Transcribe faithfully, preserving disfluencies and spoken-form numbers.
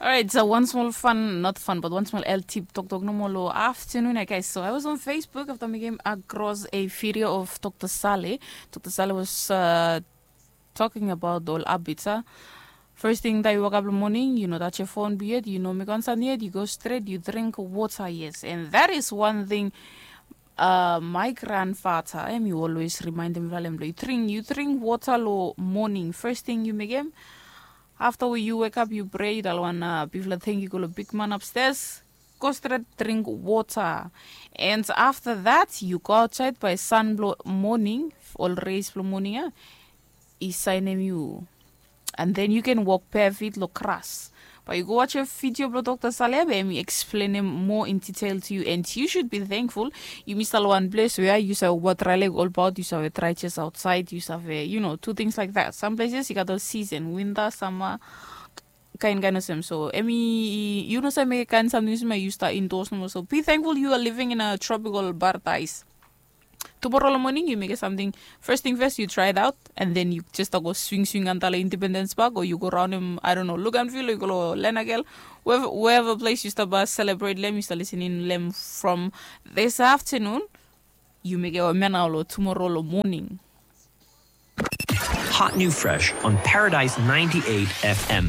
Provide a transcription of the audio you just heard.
Alright, so one small fun, not fun, but one small L tip toktok nomo lo afternoon, I guess. So I was on Facebook after mi came across a video of Dr. Saleh. Dr. Saleh was uh, talking about ol habits, ah. First thing that you wake up in the morning, you know that your phone be it, you know, make on yet, you go straight, you drink water, yes. And that is one thing uh, my grandfather, em, you always remind them, you drink, you drink water lo morning. First thing you make him, after you wake up, you pray, you don't wanna people think you go to big man upstairs. Go straight, drink water. And after that, you go outside by sun blo morning, ol rays blo morning, eh? I sign him you. And then you can walk bare feet lo grass. But you go watch a video blo Dr. Saleh, and he explain him more in detail to you. And you should be thankful. You miss all one place where you saw what Raleigh all about, you saw a try chest outside, you saw a, you know, two things like that. Some places you got all season, winter, summer, kain kain olsem. So emi, you know, say make kain something you may use that indoors no more. So be thankful you are living in a tropical paradise. Tomorrow morning you make something. First thing first, you try it out, and then you just go swing swing antala Independence Park, or you go around him, I don't know, look and feel, you go Lenagel, wherever, wherever place you start celebrate lem, you start listening lem from this afternoon. You make a man out tomorrow morning. Hot new fresh on Paradise ninety-eight F M.